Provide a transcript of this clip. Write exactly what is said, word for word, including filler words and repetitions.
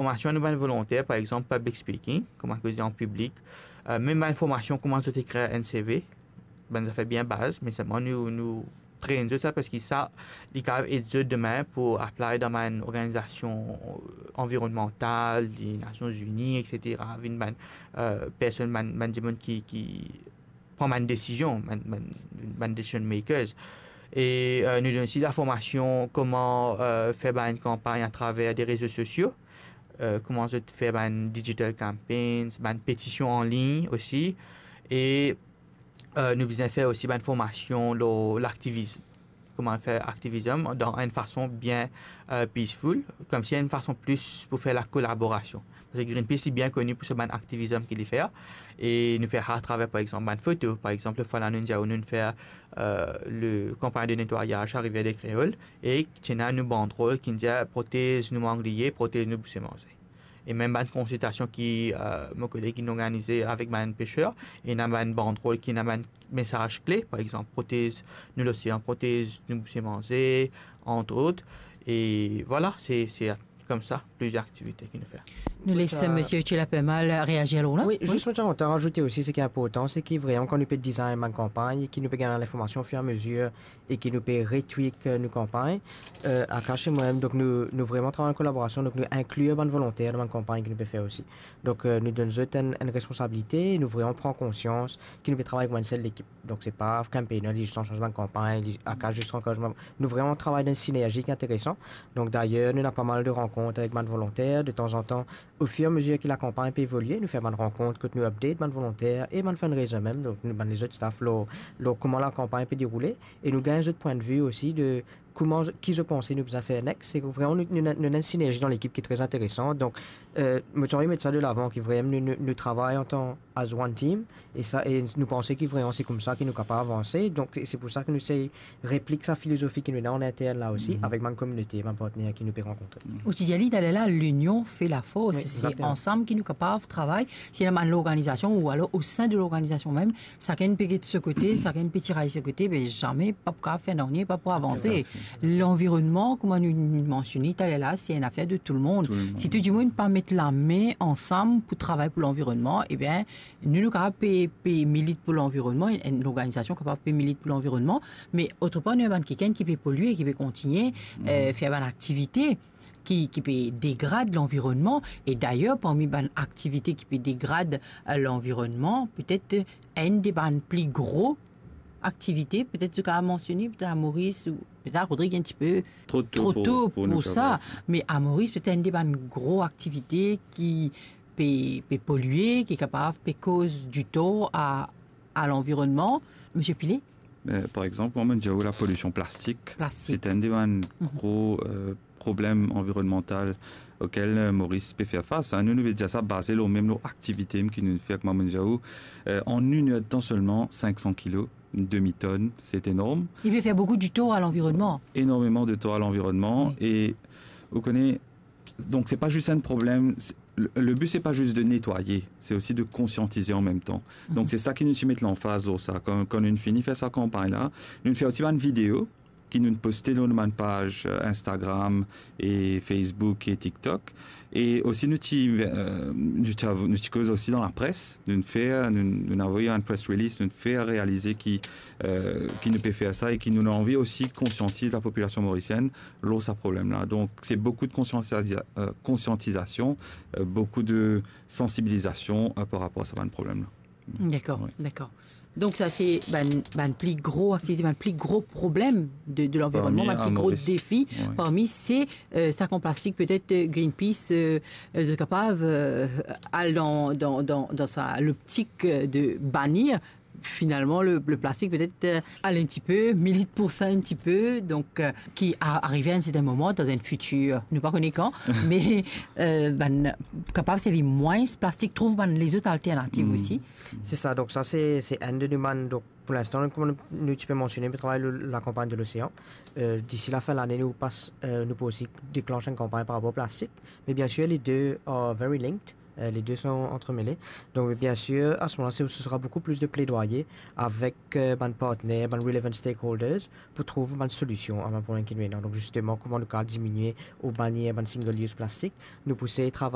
formasion a nou bann volonter, par exanp, public speaking, kouma koze an piblik, eh, mem bann formasion kouma zot ekrir enn C V, bann zafer bien baz, me selman nou, nou train zot sa, parski sa, li kapav ed zot demin pou apply dan bann organizasion, eh, anvironmantal, di Nasion Zini, et cetera, vinn bann, eh, personn, bann, bann dimoun ki, ki pran bann desizion, bann, bann, bann decision makers. E, eh, nou donn osi laformasion kouma, eh, fer bann kanpagn atraver de rezo sosio, eh, kouma zot fer bann digital campaigns, bann petision an lign osi. E, eh, nou bizin fer osi bann formasion lor laktivism. Kouma fer aktivism dan enn fason bien, eh, peaceful, koumsi enn fason plis pou fer lakolaborasion. Parski Greenpeace, li bien koni pou so bann aktivism ki li fer. E nou fer sa atraver, par exanp, bann foto. Par exanp, lafwa la, nou dir, nou fer, eh, le kanpagn de netwayaz a Rivière des Créoles. E ti ena nou bandrol ki dir, "Protez nou mangliye, protez nou bouse manze." E mem bann konsiltasion ki, eh, mo koleg inn organize avek bann peser, ena bann bandrol ki ena bann mesaz kle, par exanp, "Protez nou losean, protez nou bouse manze", entre autres. E vwala, se, se koumsa, plizier aktivite ki nou fer. Nou les, eh, Misie Utile Apermal reazir lor la. Wi, wi, zis mo ti a kontan razoute osi, seki inportan, seki vreman kan nou pe design bann kanpagn, ki nou pe gagn linformasion ofir-a-mezir e ki nou pe retweak, eh, nou kanpagn, eh, Akash e mwa-mem, donk nou, nou vreman travay an kolaborasion, donk nou inklir bann volonter dan bann kanpagn ki nou pe fer osi. Donk, eh, nou donn zot enn, enn responsabilite, nou vreman pran konsians ki nou pe travay kouma enn sel lekip. Donk se pa campaigner, li zis ansanm dan bann kanpagn, li, Akash zis ansanm. Nou vreman travay dan enn sinerzi ki interesan. Donk dayer, nou ena pa mal de rankont avek bann volonter, detanzantan, ofir-a-mezir ki lakanpagn pe evolie, nou fer bann rankont kot nou update bann volonter e bann fundraiser mem, donk nou bann lezot staff lor, lor kouma lakanpagn pe deroule, e nou gagn zot pwin de vi osi de kouma, ki zot panse nou bizin fer next. Se vreman nou, nou, nou ena enn sinerzi dan lekip ki tre interesan. Donk, eh, mo ti anvi met sa de lavan, ki vreman nou, nou, nou travay antan as one team, e sa, e nou panse ki vreman se koumsa ki nou kapav avanse. Donk se pou sa ki nou sey replik sa filozofi ki nou ena an intern la osi, avek bann kominote, bann partner ki nou pe rankontre. Ou ti dir li taler la, "L'union fait la force." Wi, se egzakteman. Ansam ki nou kapav travay. Si ena bann lorganizasion ou alor o sein de lorganizasion mem, sakenn pe get so kote, sakenn pe tiray so kote, be zame pa pou kapav fer nanye, pa pou avanse. Toutafe. Lanvironnman, kouma nou mansione taler la, se enn zafer de tou lemonn. Tou lemonn. Si tou dimoun pa met lame ansam pou travay pou lanvironnman, ebien, nou, nou kapav pe, pe milit pou lanvironnman, enn lorganizasion kapav pe milit pou lanvironnman, me otrepar nou ena bann kikenn ki pe polie, ki pe kontigne, eh, fer bann aktivite ki, ki pe degrad lanvironnman. E dayer, parmi bann aktivite ki pe degrad, eh, lanvironnman, petet, eh, enn de bann pli gro aktivite, petet to kapav mansione, petet a Moris, ou petet a Rodrig, enn tipe tro to pou, pou sa, me a Moris, petet enn de bann gro aktivite ki pe, pe polie, ki kapav pe koz ditor a, a lanvironnman. Misie Pile? Eh, par exanp, mwa, mo dir ou lapolision plastik, plastik, se enn de bann gro, eh, problem anvironnmantal okel, eh, Moris pe fer fas, hein. Nou, nou pe dir sa baze lor mem lor aktivite ki nou fer, kouma mo dir ou, eh, an enn er de tan selman, sink san kilo, enn demi tonn, se enorm. Li pe fer boukou ditor a lanvironnman. Enormeman de tor a lanvironnman, wi, e ou kone, donk se pa zis enn problem, se, le, le bi se pa zis de netwaye, se osi de konsiantize an mem tan. Donk se sa ki nou ti met lanfaz lor sa. Kan, kan nou fini fer sa kanpagn la, nou fer osi bann video ki nou poste lor nou bann paz, eh, Instagram e Facebook e TikTok. E osi nou ti, eh, nou ti av-, nou ti koz osi dan lapres, nou fer, nou, nou avoy enn press release, nou fer realize ki, eh, ki nou pe fer sa e ki nou anvi osi konsiantiz lapopilasion morisienn lor sa problem la. Donk se boukou de konsiantiza-, eh, konsiantizasion, eh, boukou de sansibilizasion, eh, par rapor a sa bann problem la. Dakor, wi, dakor. Donk sa se bann, bann pli gro aktivite, bann pli gro problem de, de lanvironnman, parmi, bann pli gro defi, wi, parmi se, eh, sak an plastik, petet, eh, Greenpeace, eh, eh, zot kapav, eh, al dan, dan, dan, dan sa loptik, eh, de banir finalman le, le plastik, petet, eh, al enn tipe, milit pou sa enn tipe, donk, eh, ki a, arive a enn serten moman dan enn fitir, nou pa kone kan, me, eh, bann kapav servi mwins plastik, trouv bann lezot alternativ osi. Se sa, donk sa se, se enn de nou bann, donk pou linstan, kouma nou, nou ti pe mansione, nou travay lor lakanpagn de losean. Eh, disi lafin lane, nou pas, eh, nou pou osi deklans enn kanpagn par rapor plastik. Me biensir, les deux are very linked. Eh, les deux sont entremêlés. Donk, biensir, a se moman la, se, ce sera beaucoup plus de plaidoyer avek, eh, bann partner, bann relevant stakeholders pou trouv bann solision a bann problem ki nou ena. Donk, zisteman, kouma nou kapav diminie ou banir bann single use plastik, nou pou sey travay